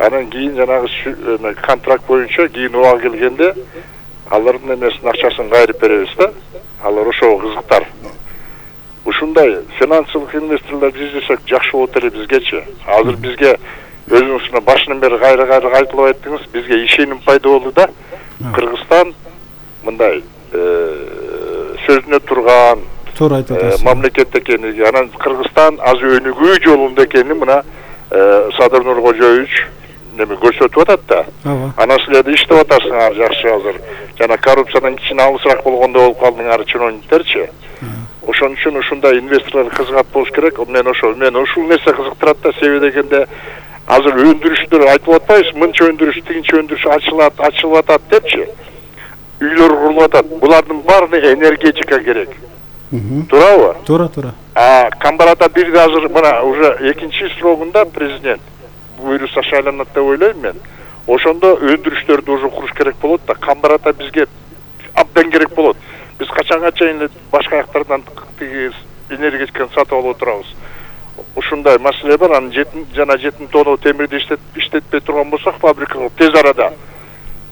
Анан кийин жанагы контракт боюнча кийин убак келгенде алардын эмесин акчасын кайрып беребиз да. Алар ошого кызыктар. Ушундай финансылык инвесторлор издесек жакшы болот эле бизгечи. Азыр бизге өзүңүз башынан бери кайра айтылып айттыңыз, бизге ишеним пайда болду да. Кыргызстан мындай сөзүнө турган туура айтып атасыз. Мамлекет экени, анан Кыргызстан аз өнүгүү жолунда экенин мына Садыр Нуркожоевич неме көрсөтүп атат да. Анан силер иштеп атасыңар жакшы азыр. Жана коррупциядан кичине алысыраак болгондо болуп калдыңар чиновниктерчи. Ошон үчүн ушундай инвесторлор кызыгат болуш керек. Мен ушул нерсе кызыктырат да, себеби дегенде азыр өндүрүштөр айтып атпайбыз, мынча өндүрүш, тигинче өндүрүш ачылып атат депчи. Үйлөр курулуп атат. Булардын баарына энергетика керек. Туурабы? Туура. Камбарата бирде азыр мына уже экинчи срогунда президент буйруса шайланат деп ойлойм мен. Ошондо өндүрүштөрдү уже куруш керек болот да. Камбарата бизге абдан керек болот. Биз качанга чейин башка жактардан энергетиканы сатып алып отурабыз. Ушундай маселе бар. Анан 7 тонна темирди иштетпей турган болсок, фабрикага тез арада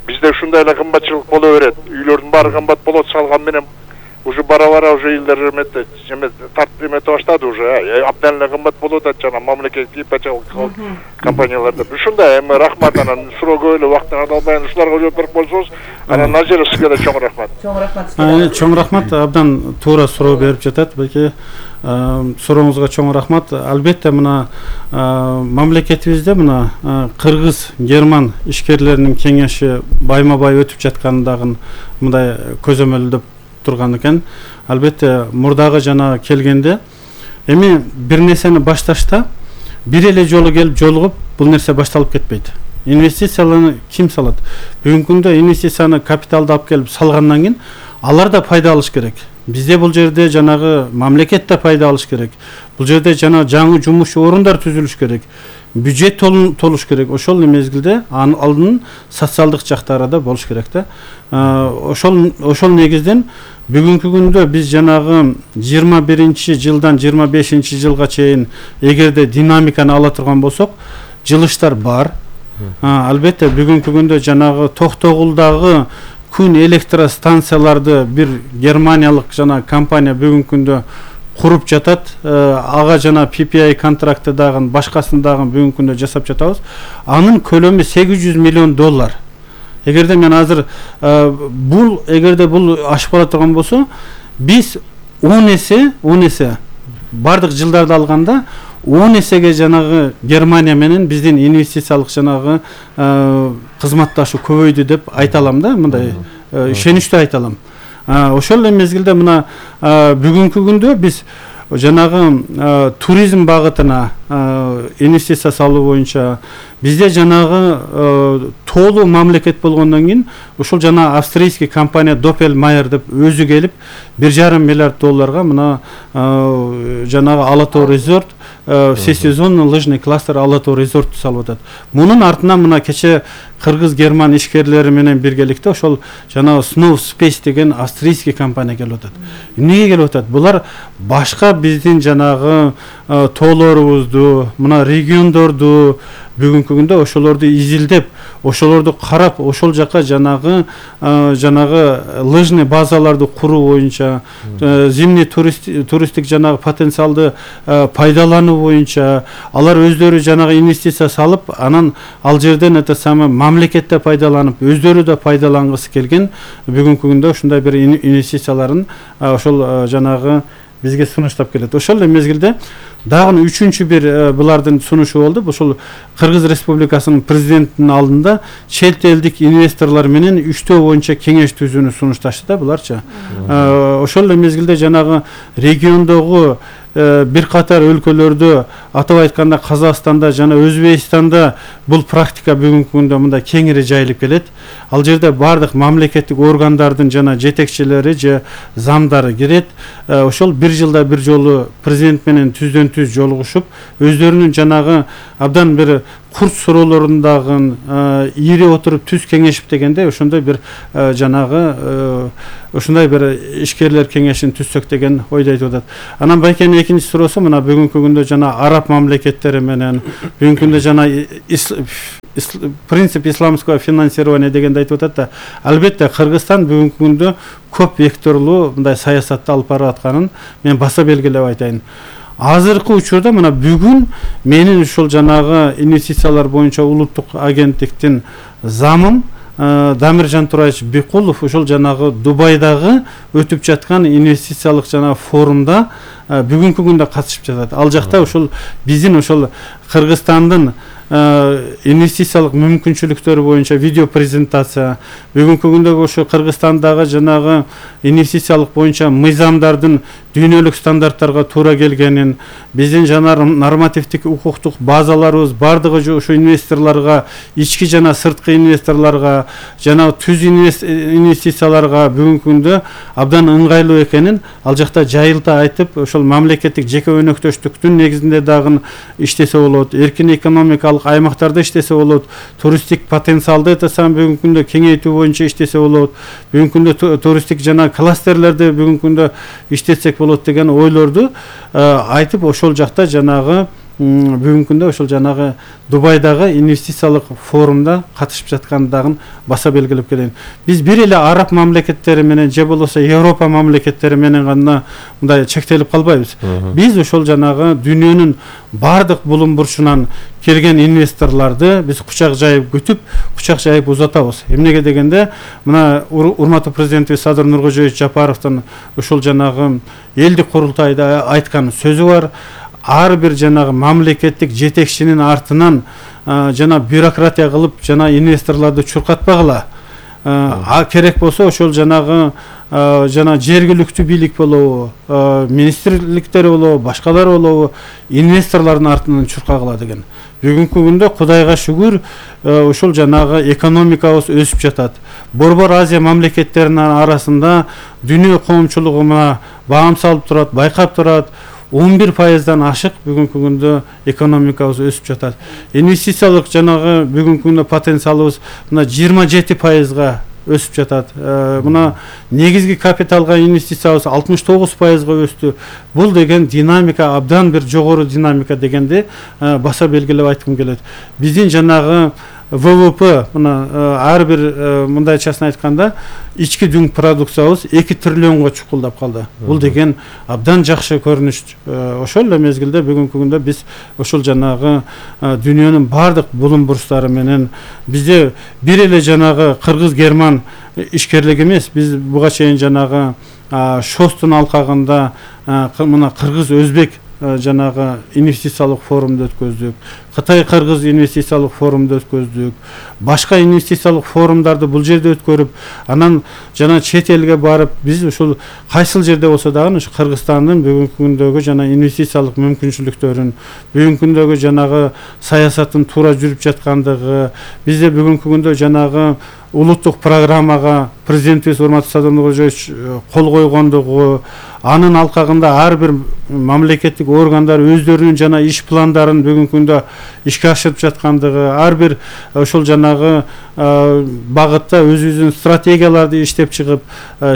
бизде ушундай эле кымбатчылык боло берет. Үйлөрдүн баары кымбат болот, салган менен уже бара уже илдер тартып баштады уже. Абдан эле кымбат болот да, жана мамлекеттик ипотекалык компанияларда. Ушундай эми рахмат, анан суроого эле убактын албайын ушуларга жооп берип койсоңуз, анан Назира сизге да чоң рахмат. Чоң рахмат, абдан туура суроо берип жатат. Балки сурооңузга чоң рахмат. Албетте мына мамлекетибизде мына кыргыз-герман ишкерлеринин кеңеши байма-бай өтүп жаткандыгын мындай көзөмөлдөп турган экен. Албетте мурдагы жана келгенде эми бир нерсени башташта бир эле жолу келип жолугуп бул нерсе башталып кетпейт. Инвестицияларды ким салат? Бүгүнкү күндө инвестицияны капиталды алып келип салгандан кийин алар да пайда алыш керек. Бизде бул жерде жанагы мамлекет да пайда алыш керек. Бул жерде жана жаңы жумуш орундар түзүлүш керек. Бюджет толуш керек. Ошол мезгилде алдын социалдык жактары да болуш керек да. Ошол негизден бүгүнкү күндө биз жанагы 21-жылдан 25-жылга чейин эгерде динамиканы ала турган болсок, жылыштар бар. Албетте бүгүнкү күндө жанагы Токтогулдагы күн электростанцияларды бир германиялык жана компания бүгүнкү күндө куруп жатат. Ага жана PPI контракты дагы башкасын дагы бүгүнкү күндө жасап жатабыз. Анын көлөмү $800 миллион. Эгерде мен азыр эгерде бул ашып кала турган болсо, биз 10 эсе бардык жылдарды алганда 10 эсеге жанагы Германия менен биздин инвестициялык жанагы кызматташуу көбөйдү деп айта алам да, мындай ишеничтүү айта алам. Ошол эле мезгилде мына бүгүнкү күндө биз жанагы туризм багытына инвестиция салуу боюнча бизде жанагы толуу мамлекет болгондон кийин ушул жана австрийский компания Doppel Mayer деп өзү келип $1,5 миллиард мына жанагы Алатоо резорт, всесезонный лыжный кластер Алатоо резорт салып атат. Мунун артынан мына кече кыргыз-герман ишкерлери менен биргеликте ошол жанагы Snow Space деген австрийский компания келип атат. Эмнеге келип атат? Булар башка биздин жанагы тоолорубузду, мына региондорду бүгүнкү күндө ошолорду изилдеп, ошолорду карап, ошол жака жанагы лыжный базаларды куруу боюнча, зимний туристтик жанагы потенциалды пайдалануу боюнча алар өздөрү жанагы инвестиция салып, анан ал жерден мамлекетте пайдаланып, өздөрү да пайдалангысы келген бүгүнкү күндө ушундай бир инвестицияларын ошол жанагы бизге сунуштап келет. Ошол эле мезгилде дагы үчүнчү бир булардын сунушу болду. Ушул Кыргыз Республикасынын президентинин алдында чет элдик инвесторлор менен 3төө боюнча кеңеш түзүүнү сунушташты да буларчы. Ошол эле мезгилде жанагы региондогу бир катар өлкөлөрдө, атап айтканда Казакстанда жана Өзбекстанда бул практика бүгүнкү күндө мындай кеңири жайылып келет. Ал жерде бардык мамлекеттик органдардын жана жетекчилери же замдары кирет. Ошол бир жылда бир жолу президент менен түздөн-түз жолугушуп, өздөрүнүн жанагы абдан бир курс суроолорундагы ири отуруп түз кеңешип дегенде ошондой бир жанагы ушундай бир ишкерлер кеңешин түзсөк деген ойду айтып атат. Анан байкенин экинчи суроосу мына бүгүнкү күндө жана араб мамлекеттери менен бүгүнкү күндө жана принцип исламского финансирования дегенди айтып атат да. Албетте Кыргызстан бүгүнкү күндө көп векторлуу мындай саясатты алып барып атканын мен баса белгилеп айтайын. Азыркы учурда мына бүгүн менин ушул жанагы инвестициялар боюнча улуттук агенттиктин замым Дамиржан Тураевич Бекулов ушул жанагы Дубайдагы өтүп жаткан инвестициялык жана форумда бүгүнкү күндө катышып жатат. Ал жакта ушул биздин ушул Кыргызстандын инвестициялык мүмкүнчүлүктөрү боюнча видео презентация, бүгүнкү күндөгү ошо Кыргызстандагы жанагы инвестициялык боюнча мыйзамдардын дүйнөлүк стандарттарга туура келгенин, биздин жана нормативдик укуктук базаларыбыз бардыгы ушу инвесторлорго, ички жана сырткы инвесторлорго, жана түз инвестицияларга бүгүнкү күндө абдан ыңгайлуу экенин ал жакта жайылта айтып, ошол мамлекеттик жеке өнөктөштүктүн негизинде дагы иштесе болот, эркин экономикалык аймактарда иштесе болот, туристтик потенциалды этасам бүгүнкү күндө кеңейтүү боюнча иштесе болот, бүгүнкү күндө туристтик жана кластерлерди бүгүнкү күндө иштетсек болот деген ойлорду айтып, ошол жакта жанагы бүгүнкү күндө ошол жанагы Дубайдагы инвестициялык форумда катышып жаткандыгын баса белгилеп келейин. Биз бир эле араб мамлекеттери менен же болбосо Европа мамлекеттери менен гана мындай чектелип калбайбыз. Биз ошол жанагы дүйнөнүн бардык булум бурчунан келген инвесторлорду биз кучак жайып күтүп, кучак жайып узатабыз. Эмнеге дегенде, мына урматтуу президентибиз Садыр Нуркожоевич Жапаровдун ушул жанагы элдик курултайда айткан сөзү бар. Ар бир жанагы мамлекеттик жетекчинин артынан жана бюрократия кылып жана инвесторлорду чуркатпагыла. Керек болсо ошол жанагы жана жергиликтүү бийлик болобу, министрликтер болобу, башкалар болобу, инвесторлордун артынан чуркагыла деген. Бүгүнкү күндө Кудайга шүгүр ушул жанагы экономикабыз өсүп жатат. Борбор Азия мамлекеттеринин арасында дүйнө коомчулугуна баам салып турат, байкап турат. 11%дан ашык бүгүнкү күндө экономикабыз өсүп жатат. Инвестициялык жанагы бүгүнкү күндө потенциалыбыз мына 27%га өсүп жатат. Мына негизги капиталга инвестициябыз 69%га өстү. Бул деген динамика абдан бир жогору динамика дегенди баса белгилеп айткым келет. Биздин жанагы ВВП мына ар бир мындайчасын айтканда ички дүң продукциябыз 2 триллионго чукулдап калды. Бул деген абдан жакшы көрүнүш. Ошол эле мезгилде бүгүнкү күндө биз ошол жанагы дүйнөнүн бардык булум бурчтары менен бизде бир эле жанагы кыргыз-герман ишкерлик эмес, биз буга чейин жанагы Шостун алкагында мына кыргыз-өзбек жанагы инвестициялык форумду өткөздүк, Кытай-Кыргыз инвестициялык форумду өткөздүк, башка инвестициялык форумдарды бул жерде өткөрүп, анан жана чет элге барып, биз ушул кайсыл жерде болсо дагы ушу Кыргызстандын бүгүнкү күндөгү жана инвестициялык мүмкүнчүлүктөрүн, бүгүнкү күндөгү жанагы саясаттын туура жүрүп жаткандыгы, бизде бүгүнкү күндө жанагы улуттук программага президентибиз урматтуу Садыр Нуркожоевич кол койгондугу, анын алкагында ар бир мамлекеттик органдар өздөрүнүн жана иш пландарын бүгүнкү күндө ишке ашырып жаткандыгы, ар бир ошол жанагы багытта өзүбүздүн стратегияларды иштеп чыгып,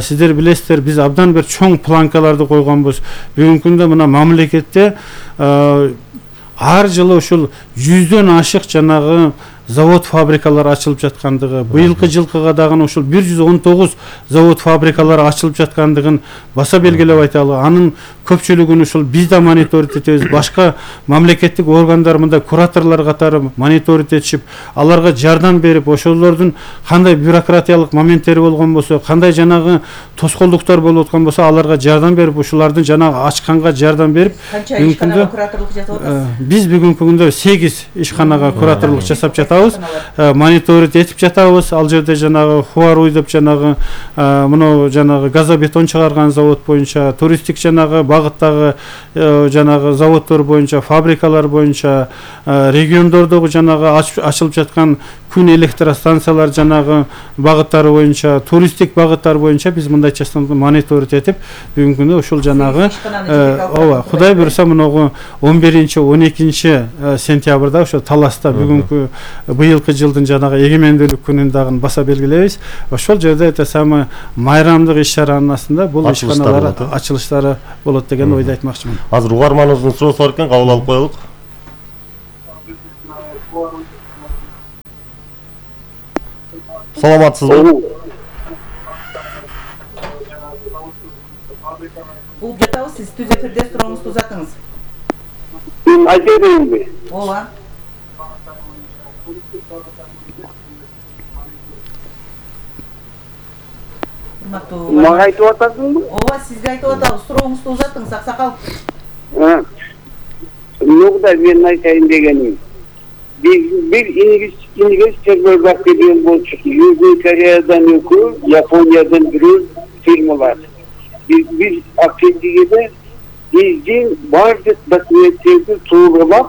сиздер билесиздер, биз абдан бир чоң планкаларды койгонбуз. Бүгүнкү күндө мына мамлекетте ар жылы ушул 100дөн ашык жанагы завод фабрикалар ачылып жаткандыгы, быйылкы жылкыга дагы ушул 119 завод фабрикалар ачылып жаткандыгын баса белгилеп айталы. Анын көпчүлүгүн ушул биз да мониторинг этебиз, башка мамлекеттик органдар мындай кураторлор катары мониторинг этишип, аларга жардам берип, ошолордун кандай бюрократиялык моменттери болгон болсо, кандай жанагы тоскоолдуктар болуп аткан болсо, аларга жардам берип, ушулардын жанагы ачканга жардам берип, бүгүнкү күндө кураторлук жасап атасыз? Биз бүгүнкү күндө 8 ишканага кураторлук жасап жатабыз, мониторинг этип жатабыз. Ал жерде жанагы Хуаруй деп жанагы мына жанагы газобетон чыгарган завод боюнча, туристтик жанагы багыттагы жанагы заводдор боюнча, фабрикалар боюнча, региондордогу жанагы ачылып жаткан күн электростанциялар жанагы багыттары боюнча, туристтик багыттар боюнча биз мындайчасынан мониторинг этип, бүгүнкү күндө ушул жанагы ооба, Кудай буйруса мынагу 11-12 сентябрда ошо Таласта бүгүнкү быйылкы жылдын жанагы эгемендүүлүк күнүн дагы баса белгилейбиз. Ошол жерде эте самый майрамдык иш-чаранын астында бул ишканалар ачылыштары болот деген ойду айтмакчымын. Азыр угарманыбыздын суроосу бар экен, кабыл алып коелук. Саламатсызбы? Угуп жатабыз, сиз түз эфирде сурооңузду узатыңыз. Айта берейинби? Ооба. Мага айтып атасыңбы? Ооба, сизге айтып атабыз. Сурооңузду узатыңыз, аксакал. Нугда мен айтайын дегеним. Bir İngilizce bakıyorum bolçuk. Южный Кореядан өкү, Япониядан бирөө фирмалар. Biz Akdeniz'de биздин бардык документтерди тууралап,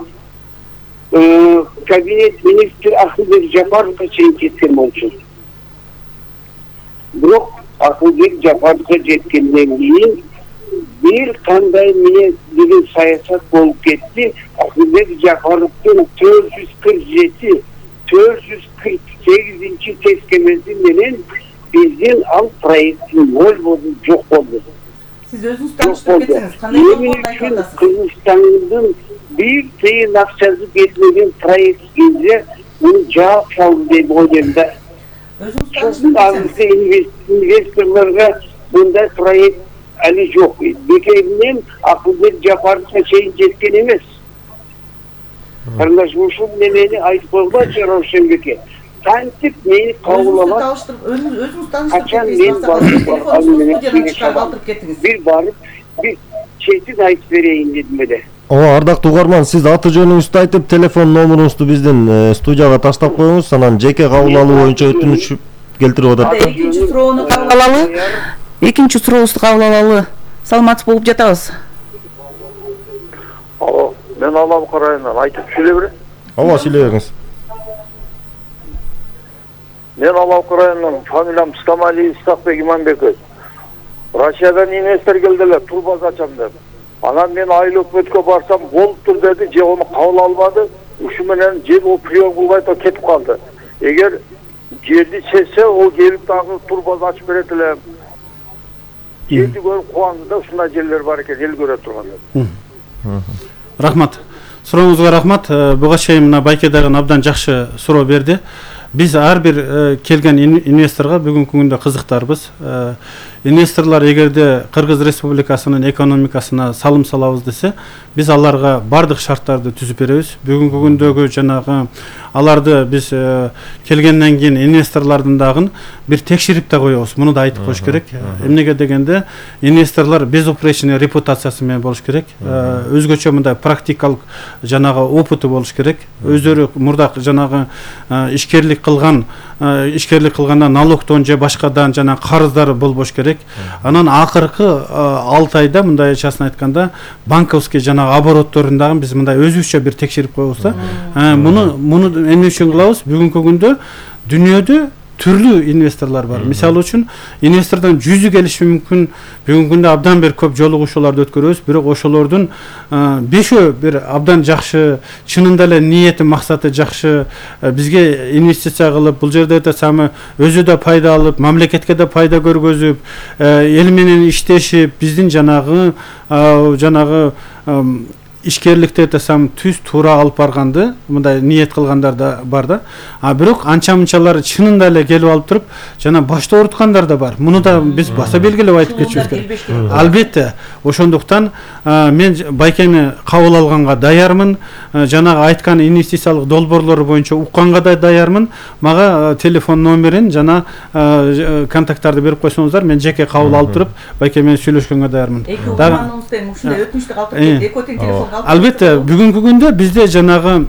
кабинет министр Акылбек Жапаровго чейин кеткен болчу. Бирок Акылбек Жапаровго жеткенден кийин bir кандай менен деген саясат болуп кетти. Акылбек Жапаровдун 448-448 тескемеси менен биздин ал проекттин болбоду, жок болду. Сиз өзүңүз тааныштырып кетсеңиз, кандай болду айтып атасыз? Кыргызстандын bir тыйын акчасы кетмеген проектке муну жаап салды деп ойлойм да. Өзүңүз тааныштырып кетсеңиз. Инвесторлорго мындай проект али жок. Бекеринен Акылбек Жапаровго чейин жеткен эмес. Кырдаш ушул немени айтып койгучу Рошенбеке. Кантип мени кабыл алат? Өзүңүз тааныштырып кетсеңиз. Bir барып, bir четин айтып берейин дедим эле. Ооба, ардактуу угарман, сиз аты жөнүңүздү айтып, телефон номеруңузду биздин студияга таштап коюңуз, анан жеке кабыл алуу боюнча өтүнүч келтирип атат. Экинчи суроону кабыл алалы. Экинчи сурообузду кабыл алалы. Саламатсыз болуп жатабыз. Алло, мен Алабы районунан айтып сүйлөй берейин. Ооба, сүйлөй бериңиз. Мен Алабы районунан, фамилиям Стамали Исакбек Иманбеков. Россиядан инвестор келдилер, турбаз ачам деп. Анан мен айыл өкмөткө барсам болуптур деди, же onu кабыл албады. Ушу менен же ол прием кылбай кетип калды. Эгер жерди чечсе, ол келип дагы турбаз ачып берет эле. Жерди көрүп кубанды да, ушундай жерлер бар экен, эл көрө турган. Рахмат. Сурооңузга рахмат. Буга чейин мына Байке дагы абдан жакшы суроо берди. Биз ар бир келген инвесторго бүгүнкү күндө кызыктарбыз. Инвесторлор эгерде Кыргыз Республикасынын экономикасына салым салабыз десе, биз аларга бардык шарттарды түзүп беребиз. Бүгүнкү күндөгү жанагы аларды биз келгенден кийин инвесторлордун дагы бир текшерип да коебуз. Муну да айтып коюш керек. Эмнеге дегенде инвесторлор безупречный репутациясы менен болуш керек. Өзгөчө мындай практикалык жанагы опыты болуш керек. Өздөрү мурдак жанагы ишкерлик кылганда налогдон же башкадан жана карыздары болбош керек. Анан акыркы 6 айда мындайчасын айтканда банковский жана оборотторун дагы биз мындай өзүбүзчө бир текшерип коебуз да. Муну эмне үчүн кылабыз? Бүгүнкү күндө дүйнөдө түрлүү инвесторлор бар. Мисалы үчүн инвестордон 100 келиши мүмкүн. Бүгүнкү күндө абдан бир көп жолугушууларды өткөрөбүз, бирок ошолордун 5 бир абдан жакшы, чынында эле ниети, максаты жакшы, бизге инвестиция кылып, бул жерде да самы өзү да пайда алып, мамлекетке да пайда көргөзүп, эл менен иштешип, биздин жанагы ишкерликте тесам түз туура алып барганды мындай ниет кылгандар да бар да. Бирок анча-мынчалар чынында эле келип алып туруп, жана башта оруткандар да бар. Муну да биз баса белгилеп айтып кетишибиз керек. Албетте, ошондуктан мен Байкени кабыл алганга даярмын. Жанагы айткан инвестициялык долбоорлору боюнча укканга да даярмын. Мага телефон номерин жана контакттарды берип койсоңуздар, мен жеке кабыл алып туруп, Байке менен сүйлөшкөнгө даярмын. Ушундай өтүнүчтү калтырып экотен телефон. Албетте, бүгүнкү күндө бизде жанагы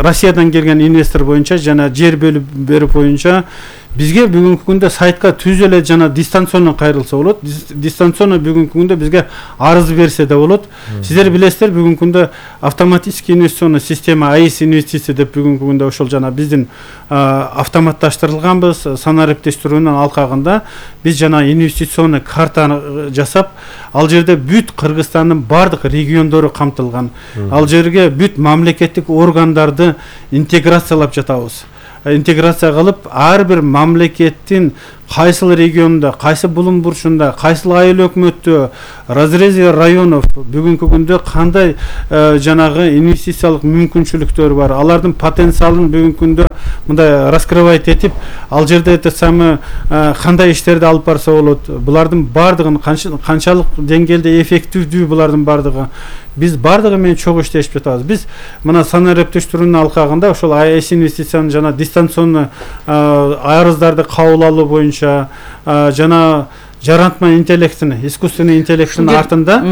Россиядан келген инвестор боюнча жана жер бөлүп берип боюнча бизге бүгүнкү күндө сайтка түз эле жана дистанционно кайрылса болот. Дистанционно бүгүнкү күндө бизге арыз берсе да болот. Сиздер билесиздер, бүгүнкү күндө автоматический инвестиционный система АИС инвестиция деп бүгүнкү күндө ошол жана биздин автоматташтырылганбыз. Санариптештирүүнүн алкагында биз жана инвестиционный карта жасап, ал жерде бүт Кыргызстандын бардык региондору камтылган. Ал жерге бүт мамлекеттик органдарды интеграциялап жатабыз. Интеграция кылып, ар бир мамлекеттин кайсыл регионунда, кайсы булум бурчунда, кайсыл айыл өкмөттө, разрезе районов бүгүнкү күндө кандай жанагы инвестициялык мүмкүнчүлүктөр бар, алардын потенциалын бүгүнкү күндө мындай раскрывать этип, ал жерде это самый кандай иштерди алып барса болот, булардын бардыгын канчалык деңгээлде эффективдүү булардын бардыгы, биз бардыгы менен чогуу иштешип жатабыз. Биз мына санаа рептештирүүнүн алкагында ошол АЭС инвестициянын жана дистанционный арыздарды кабыл алуу боюнча жана жаратма интеллектин, искусственный интеллекттин артында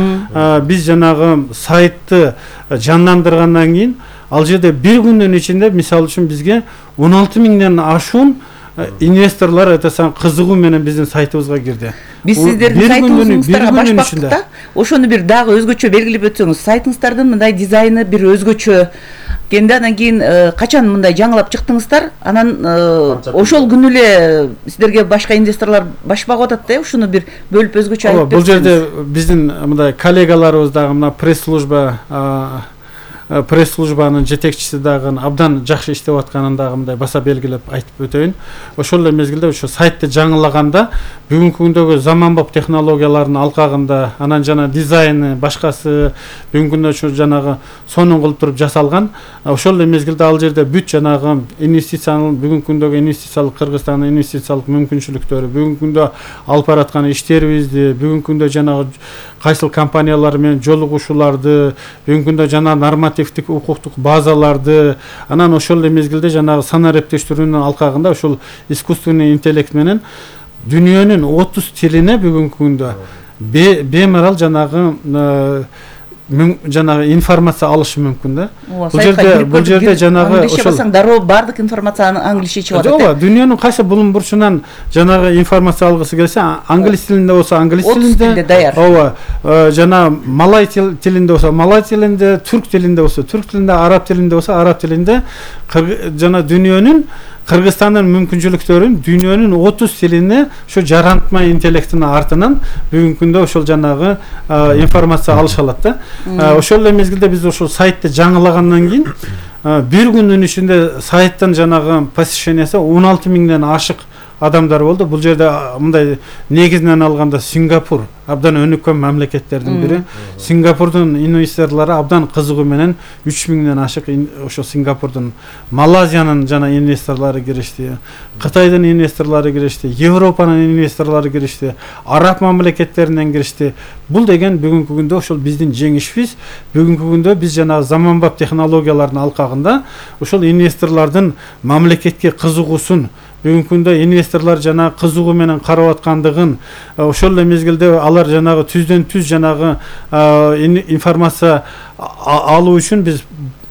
биз жанагы сайтты жандандыргандан кийин ал жерде бир күндүн ичинде мисалы үчүн бизге 16 миңден ашуун инвесторлор это кызыгуу менен биздин сайтыбызга кирди. Биз сиздердин сайтыңыздарга баш бактык да. Ошону бир дагы өзгөчө белгилеп өтсөңүз, сайтыңыздардын мындай дизайны бир өзгөчө. Кенде анан кийин качан мындай жаңылап чыктыңыздар? Анан ошол күнү эле сиздерге башка инвесторлор баш багып атат да, ушуну бир бөлүп өзгөчө айтып берсеңиз. Бул жерде биздин мындай коллегаларыбыз дагы мына пресс-службанын жетекчиси дагы абдан жакшы иштеп атканын дагы мындай баса белгилеп айтып өтөйүн. Ошол эле мезгилде ошо сайтты жаңылаганда бүгүнкү күндөгү заманбап технологиялардын алкагында анан жана дизайны башкасы бүгүнкү күндө ошо жанагы сонун кылып туруп жасалган. Ошол эле мезгилде ал жерде бүт жанагы инвестициянын бүгүнкү күндөгү инвестициялык Кыргызстандын инвестициялык мүмкүнчүлүктөрү, бүгүнкү күндө алып бараткан иштерибизди, бүгүнкү күндө жанагы кайсыл компаниялар менен жолугушууларды, бүгүнкү күндө жана нормативдик укуктук базаларды, анан ошол эле мезгилде жанагы санаа рептештирүүнүн алкагында ошол искусственный интеллект менен дүйнөнүн 30 тилине бүгүнкү күндө бемарал жанагы информация алышы мүмкүн да. Бул жерде жанагы англисче басаң дароо бардык информацияны англисче чыгат. Ооба, дүйнөнүн кайсы булун бурчунан жанагы информация алгысы келсе, англис тилинде болсо англис тилинде даяр. Ооба, жана малай тилинде болсо малай тилинде, түрк тилинде болсо түрк тилинде, араб тилинде болсо араб тилинде, жана дүйнөнүн Кыргызстандын мүмкүнчүлүктөрүн дүйнөнүн 30 тилине ошо жаратма интеллектин артынан бүгүнкү күндө ошол жанагы информация алыша алат да. Ошол эле мезгилде биз ошол сайтты жаңылагандан кийин бир күндүн ичинде сайттын жанагы посещениясы 16 миңден ашык адамдар болду. Бул жерде мындай негизинен алганда Сингапур абдан өнүккөн мамлекеттердин бири. Сингапурдун инвесторлору абдан кызыгуу менен 3 миңден ашык ошо Сингапурдун, Малайзиянын жана инвесторлору киришти, Кытайдын инвесторлору киришти, Европанын инвесторлору киришти, араб мамлекеттеринен киришти. Бул деген бүгүнкү күндө ошол биздин жеңишибиз. Бүгүнкү күндө биз жана заманбап технологиялардын алкагында ошол инвесторлордун мамлекетке кызыгуусун, бүгүнкү күндө инвесторлор жана кызыгуу менен карап аткандыгын, ошол эле мезгилде алар жанагы түздөн түз жанагы информация алуу үчүн биз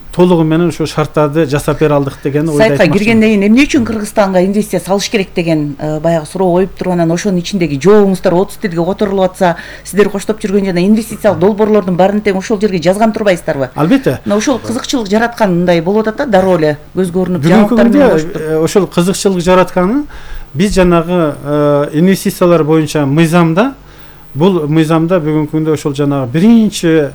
толугу менен ошо шарттарды жасап бере алдык деген ойду айтмакчымын. Сайтка киргенден кийин эмне үчүн Кыргызстанга инвестиция салыш керек деген баягы суроо коюп туруп, анан ошонун ичиндеги жообуңуздар 30 тилге которулуп атса, сиздер коштоп жүргөн жана инвестициялык долбоорлордун баарын тең ошол жерге жазган турбайсыздарбы? Албетте. Мына ошол кызыкчылык жараткан мындай болуп атат да, дароо эле көзгө көрүнүп жаап ошол кызыкчылык жаратканы биз жанагы инвестициялар боюнча мыйзамда, бул мыйзамда бүгүнкү күндө ошол жанагы биринчи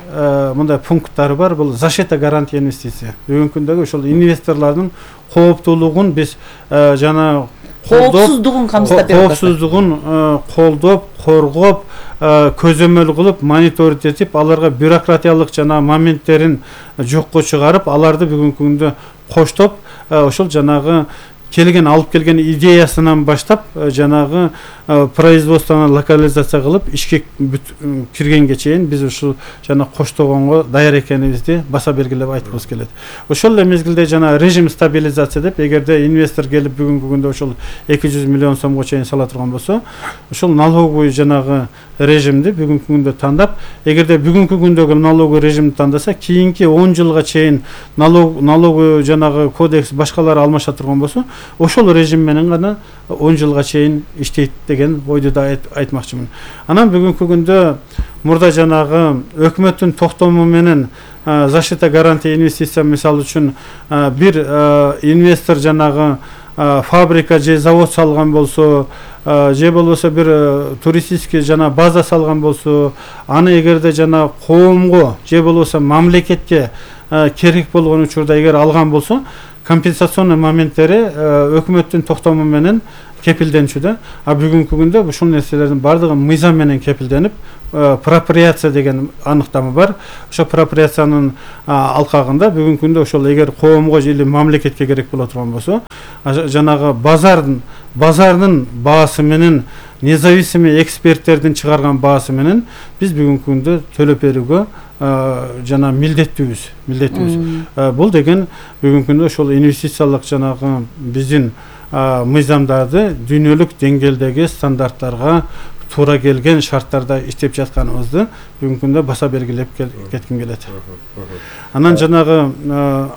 мындай пункттары бар. Бул защита гарантия инвестиция. Бүгүнкү күндөгү ошол инвесторлордун кооптуулугун биз жана коопсуздугун камсыздап берип атат. Коопсуздугун колдоп, коргоп, көзөмөл кылып, мониторинг этип, аларга бюрократиялык жана моменттерин жокко чыгарып, аларды бүгүнкү күндө коштоп, ошол жанагы алып келген идеясынан баштап жанагы производствону локализация кылып ишке киргенге чейин биз ушул жана коштогонго даяр экенибизди баса белгилеп айткыбыз келет. Ошол эле мезгилде жана режим стабилизация деп, эгерде инвестор келип бүгүнкү күндө ошол 200 миллион сомго чейин сала турган болсо, ошол налоговый жанагы режимди бүгүнкү күндө тандап, эгерде бүгүнкү күндөгү налоговый режимди тандаса, кийинки 10 жылга чейин налоговый жанагы кодекс башкалар алмаша турган болсо, ошол режим менен гана 10 жылга чейин иштейт деген ойду да айтмакчымын. Анан бүгүнкү күндө мурда жанагы өкмөттүн токтому менен защита гарантия инвестиция мисалы үчүн бир инвестор жанагы фабрика же завод салган болсо, же болбосо бир туристический жана база салган болсо, аны эгерде жана коомго же болбосо мамлекетке керек болгон учурда эгер алган болсо, компенсационный моменттери өкмөттүн токтому менен кепилденчү да. А бүгүнкү күндө ушул нерселердин бардыгы мыйзам менен кепилденип, проприация деген аныктама бар. Ошо проприациянын алкагында бүгүнкү күндө ошол эгер коомго же мамлекетке керек боло турган болсо, жанагы базардын баасы менен независимый эксперттердин чыгарган баасы менен биз бүгүнкү күндө төлөп берүүгө жана милдеттүүбүз. Бул деген бүгүнкү күндө ошол инвестициялык жанагы биздин мыйзамдарды дүйнөлүк деңгээлдеги стандарттарга туура келген шарттарда иштеп жатканыбызды бүгүнкү күндө баса белгилеп кетким келет. Анан жанагы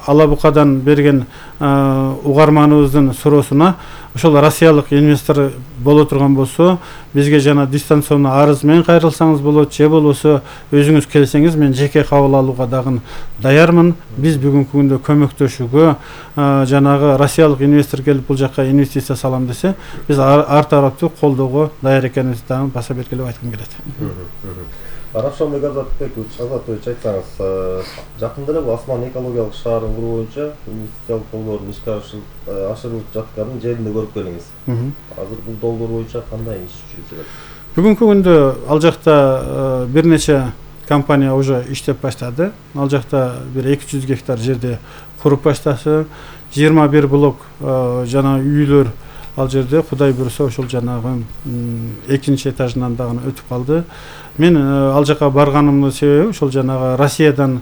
Алабукадан берген угарманыбыздын суроосуна ошол россиялык инвестор боло турган болсо бизге жана дистанционно арыз менен кайрылсаңыз болот, же болбосо өзүңүз келсеңиз мен жеке кабыл алууга дагы даярмын. Биз бүгүнкү күндө көмөктөшүүгө жанагы россиялык инвестор келип бул жака инвестиция салам десе биз ар тараптуу колдоого даяр экенибизди дагы баса белгилеп айткым келет. Равшанбек Азатович, айтсаңыз, жакында эле Асман экологиялык шаарын куруу боюнча инвестициялык долбоордун ишке ашырылып жатканын жеринде көрүп келиңиз. Азыр бул долбоор боюнча кандай иш жүрүп жатат? Бүгүнкү күндө ал жакта бир нече компания уже иштеп баштады. Ал жакта бир 200 гектар жерде куруп баштасы, 21 блок жана үйлөр ал жерде Кудай буйруса ошол жанагы экинчи этажынан дагы өтүп калды. Мен ал жака барганымдын себеби ошол жанагы Россиядан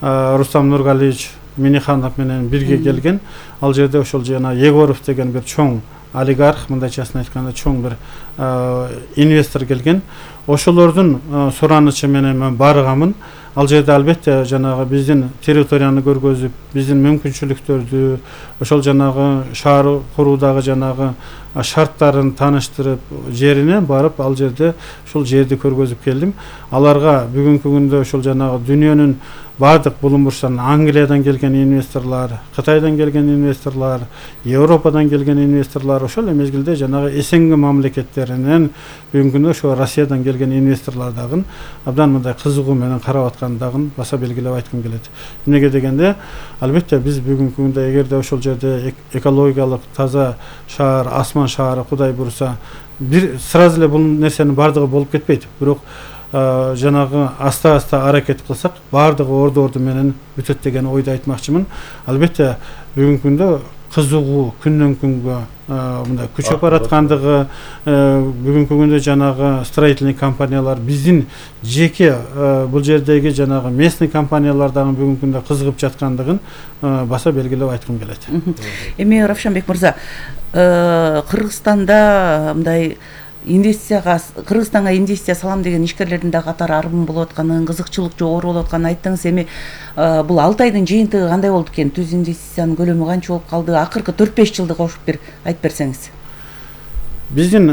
Рустам Нургалиевич Миниханов менен бирге келген. Ал жерде ошол жана Егоров деген бир чоң олигарх, мындайчасын айтканда чоң бир инвестор келген. Ошолордун суранычы менен мен барганмын. Ал жерде албетте жанагы биздин территорияны көргөзүп, биздин мүмкүнчүлүктөрдү, ошол жанагы шаар куруудагы жанагы шарттарын тааныштырып, жерине барып ал жерде ошол жерди көргөзүп келдим. Аларга бүгүнкү күндө ошол жанагы дүйнөнүн бардык булуң бурчтарынан Англиядан келген инвесторлор, Кытайдан келген инвесторлор, Европадан келген инвесторлор, ошол мезгилде жанагы СНГ мамлекеттеринен бүгүнкү күндө ошо Россиядан келген инвесторлор дагы абдан мындай кызыгуу менен карап аткан дагы баса белгилеп айткым келет. Эмнеге дегенде, албетте биз бүгүнкү күндө эгерде ошол жерде экологиялык таза шаар, Асман шаары Кудай буйруса бир сразу эле бул нерсенин бардыгы болуп кетпейт. Бирок жанагы аста аракет кылсак бардыгы орду менен бүтөт деген ойду айтмакчымын. Албетте бүгүнкү күндө кызыгуу күндөн күнгө мындай күчөп бараткандыгы, бүгүнкү күндө жанагы строительный компаниялар биздин жеке бул жердеги жанагы местный компаниялар дагы бүгүнкү күндө кызыгып жаткандыгын баса белгилеп айткым келет. Эми Равшанбек мырза, Кыргызстанда мындай Кыргызстанга инвестиция салам деген ишкерлердин да катары арбын болуп атканын, кызыкчылык жогору болуп атканын айттыңыз. Эми бул 6 айдын жыйынтыгы кандай болду экен? Түз инвестициянын көлөмү канча болуп калды? Акыркы 4-5 жылды кошуп бир айтып берсеңиз. Биздин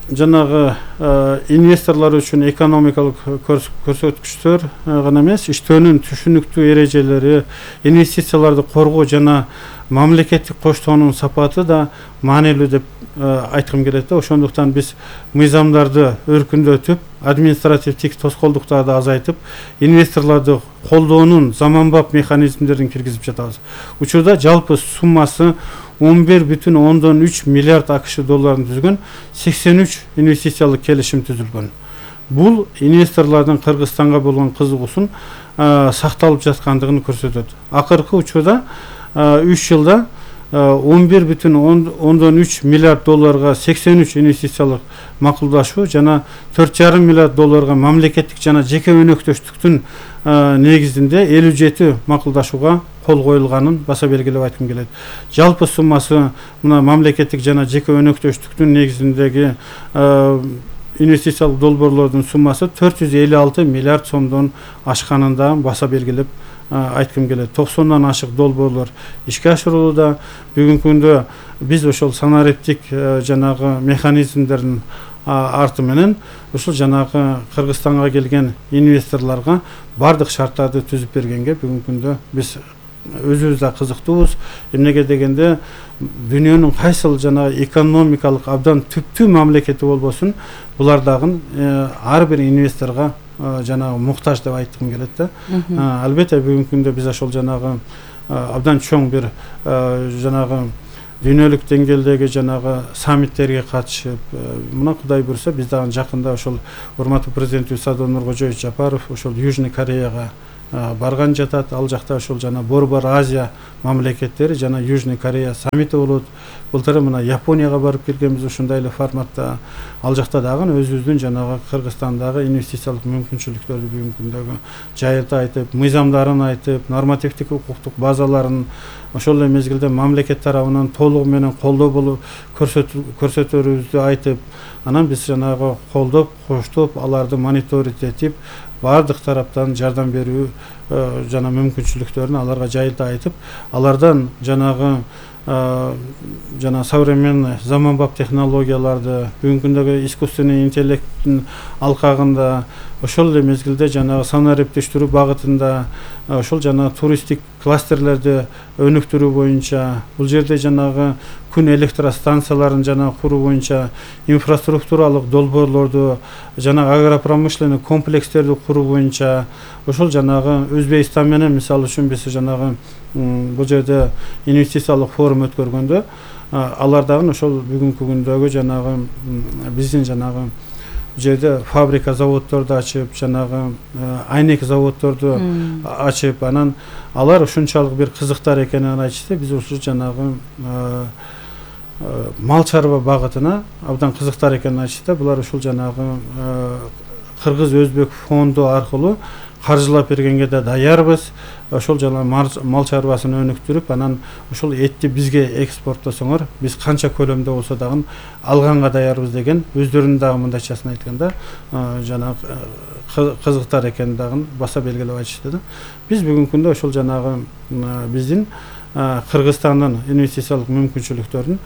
жанагы инвесторлор үчүн экономикалык көрсөткүчтөр гана эмес, иштөөнүн түшүнүктүү эрежелери, инвестицияларды коргоо жана мамлекеттик коштоонун сапаты да маанилүү деп айткым келет. Ошондуктан биз мыйзамдарды өркүндөтүп, административдик тоскоолдуктарды азайтып, инвесторлорду колдоонун заманбап механизмдерин киргизип жатабыз. Учурда жалпы суммасы 11,3 миллиард АКШ долларын түзгөн 83 инвестициялык келишим түзүлгөн. Бул инвесторлордун Кыргызстанга болгон кызыгуусун сакталып жаткандыгын көрсөтөт. Акыркы учурда 3 жылда 11,3 миллиард долларга 83 инвестициялык макулдашуу жана 4,5 миллиард долларга мамлекеттик жана жеке өнөктөштүктүн негизинде 57 макулдашууга кол коюлганын баса белгилеп айткым келет. Жалпы суммасы мына мамлекеттик жана жеке өнөктөштүктүн негизиндеги инвестициялык долбоорлордун суммасы 456 миллиард сомдон ашканын да баса белгилеп айткым келет. 90-дан ашык долбоорлор ишке ашырылууда. Бүгүнкү күндө биз ошол санариптик жанагы механизмдердин арты менен ушул жанагы Кыргызстанга келген инвесторлорго бардык шарттарды түзүп бергенге бүгүнкү күндө биз өзүбүз да кызыктуубуз. Эмнеге дегенде дүйнөнүн кайсыл жана экономикалык абдан түптүү мамлекети болбосун, булар дагы ар бир инвесторго жанагы муктаж деп айткым келет да. Албетте бүгүнкү күндө биз ошол жанагы абдан чоң бир жанагы дүйнөлүк деңгээлдеги жанагы саммиттерге катышып, мына Кудай буйруса биз дагы жакында ошол урматтуу президентибиз Садыр Нуркожоевич Жапаров ошол Южный Кореяга барган жатат. Ал жакта ошол жана Борбор Азия мамлекеттери жана Южный Корея саммити болот. Былтыр мына Японияга барып келгенбиз ушундай эле форматта. Ал жакта дагы өзүбүздүн жанагы Кыргызстандагы инвестициялык мүмкүнчүлүктөрдү бүгүнкү күндөгү жайылта айтып, мыйзамдарын айтып, нормативдик укуктук базаларын ошол эле мезгилде мамлекет тарабынан толугу менен колдоо болуп көрсөтөрүбүздү айтып, анан биз жанагы колдоп, коштоп, аларды мониторинг этип, баардык тараптан жардам берүү жана мүмкүнчүлүктөрүн аларга жайылта айтып, алардан жанагы жана современный заманбап технологияларды бүгүнкү күндөгү искусственный интеллекттин алкагында ошол эле мезгилде жанагы санариптештирүү багытында ошол жана туристтик кластерлерди өнүктүрүү боюнча бул жерде жанагы күн электростанцияларын жана куруу боюнча инфраструктуралык долбоорлорду жана агропромышленный комплекстерди куруу боюнча ошол жанагы Өзбекстан менен мисалы үчүн биз жанагы бул жерде инвестициялык форум өткөргөндө алар дагы ошол бүгүнкү күндөгү жанагы биздин жанагы жерде фабрика заводдорду ачып, жанагы айнек заводдорду ачып, анан алар ушунчалык бир кызыктар экенин айтышты. Биз ушул жанагы мал чарба багытына абдан кызыктар экенин айтышты. Булар ушул жанагы кыргыз-өзбек фонду аркылуу каржылап бергенге да даярбыз. Ошол жана мал чарбасын өнүктүрүп, анан ушул этти бизге экспорттосоңор, биз канча көлөмдө болсо дагы алганга даярбыз деген өздөрүнүн дагы мындайчасын айтканда жана кызыктар экенин дагы баса белгилеп айтышты да. Биз бүгүнкү күндө ошол жанагы биздин Кыргызстандын инвестициялык мүмкүнчүлүктөрүн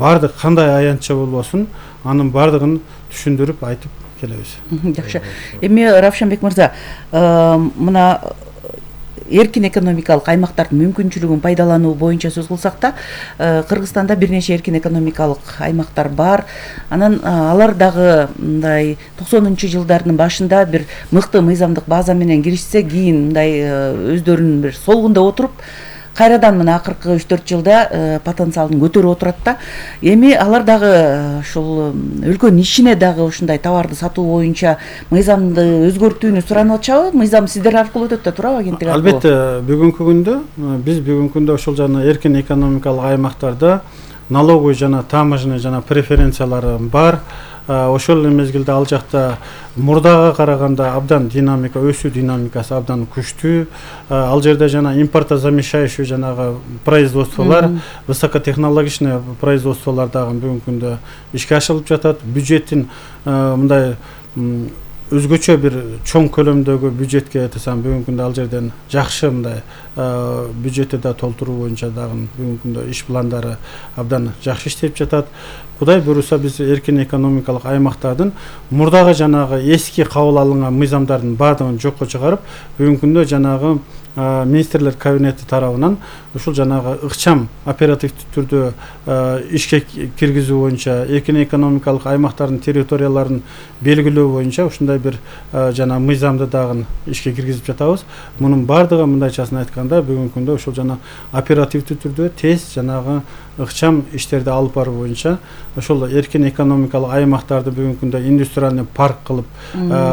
баардык кандай аянтча болбосун, анын баардыгын түшүндүрүп айтып келебиз. Жакшы. Эми Равшанбек мырза, мына эркин экономикалык аймактардын мүмкүнчүлүгүн пайдалануу боюнча сөз кылсак да, Кыргызстанда бир нече эркин экономикалык аймактар бар. Анан алар дагы мындай 90-жылдардын башында бир мыкты мыйзамдык база менен киришсе, кийин мындай өздөрүнүн бир солгунда отуруп, кайрадан мына акыркы 3-4 жылда потенциалын көтөрүп отурат да. Эми алар дагы ушул өлкөнүн ишине дагы ушундай товарды сатуу боюнча мыйзамды өзгөртүүнү суранып атышабы? Мыйзам сиздер аркылуу өтөт да турабы, агенттик аркылуу? Албетте, бүгүнкү күндө биз бүгүнкү күндө ошол жана эркин экономикалык аймактарда налоговый жана таможенный жана преференциялары бар. Ошол эле мезгилде ал жакта мурдага караганда абдан динамика, өсүү динамикасы абдан күчтүү. Ал жерде жана импортозамещающий жанагы производстволор, высокотехнологичный производстволор дагы бүгүнкү күндө ишке ашырылып жатат. Бюджеттин мындай өзгөчө бир чоң көлөмдөгү бюджетке айтсам, бүгүнкү күндө ал жерден жакшы мындай бюджетти да толтуруу боюнча дагы бүгүнкү күндө иш пландары абдан жакшы иштеп жатат. Кудай буйруса биз эркин экономикалык аймактардын мурдагы жанагы эски кабыл алынган мыйзамдардын баардыгын жокко чыгарып, бүгүнкү күндө жанагы министрлер кабинети тарабынан ушул жанагы ыкчам оперативдик түрдө ишке киргизүү боюнча, эркин экономикалык аймактардын территорияларын белгилөө боюнча ушундай бир жана мыйзамды дагы ишке киргизип жатабыз. Мунун баардыгы мындайчасын айтканда бүгүнкү күндө ушул жана оперативдик түрдө тез жанагы ыкчам иштерди алып баруу боюнча ошол эркин экономикалык аймактарды бүгүнкү күндө индустриальный парк кылып,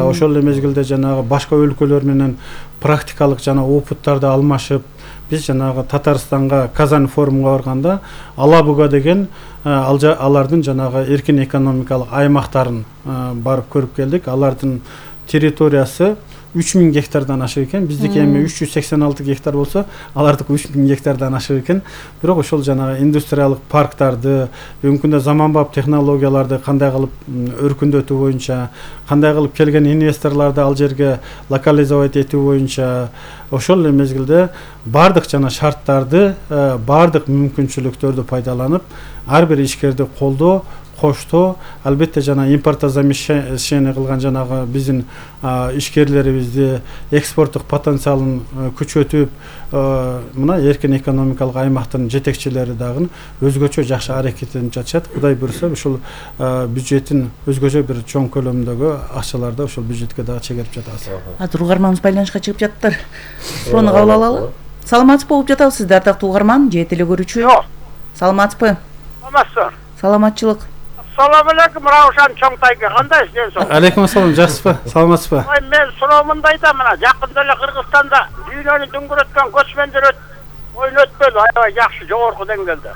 ошол эле мезгилде жанагы башка өлкөлөр менен практикалык жана опыттарды алмашып, биз жанагы Татарстанга Казань форумга барганда Алабуга деген алардын жанагы эркин экономикалык аймактарын барып көрүп келдик. Алардын территориясы 3000 гектардан ашык экен. Биздики эми 386 гектар болсо, алардыкы 3000 гектардан ашык экен. Бирок ошол жанагы индустриалык парктарды, бүгүнкү күндө заманбап технологияларды кандай кылып өркүндөтүү боюнча, кандай кылып келген инвесторлорду ал жерге локализовать этүү боюнча, ошол эле мезгилде баардык жана шарттарды, баардык мүмкүнчүлүктөрдү пайдаланып, ар бир ишкерди колдоо, коштоо, албетте жана импортозамещение кылган жанагы биздин ишкерлерибизди экспорттук потенциалын күчөтүп, мына эркин экономикалык аймактын жетекчилери дагы өзгөчө жакшы аракеттенип жатышат. Кудай буйруса ушул бюджеттин өзгөчө бир чоң көлөмдөгү акчаларды ошол бюджетке дагы чегерип жатабыз. Азыр угарманыбыз байланышка чыгып жаттыр. Суроону кабыл алалы. Саламатсызбы болуп жатабыз, ардактуу угарман же теле көрүүчү? Саламатсызбы? Саламатсызбы. Саламатчылык. Assalamu alaikum Ravshan Чоңтайга. Кандайсыз ден соң? Алейкум ассалам, жакшысызбы? Саламатсызбы? Ой, мен суроомундай да мына жакында эле Кыргызстанда дүйнөнү дүңгүрөткөн көчмөндөр ойнөткөн аябай жакшы жогорку деңгээлде.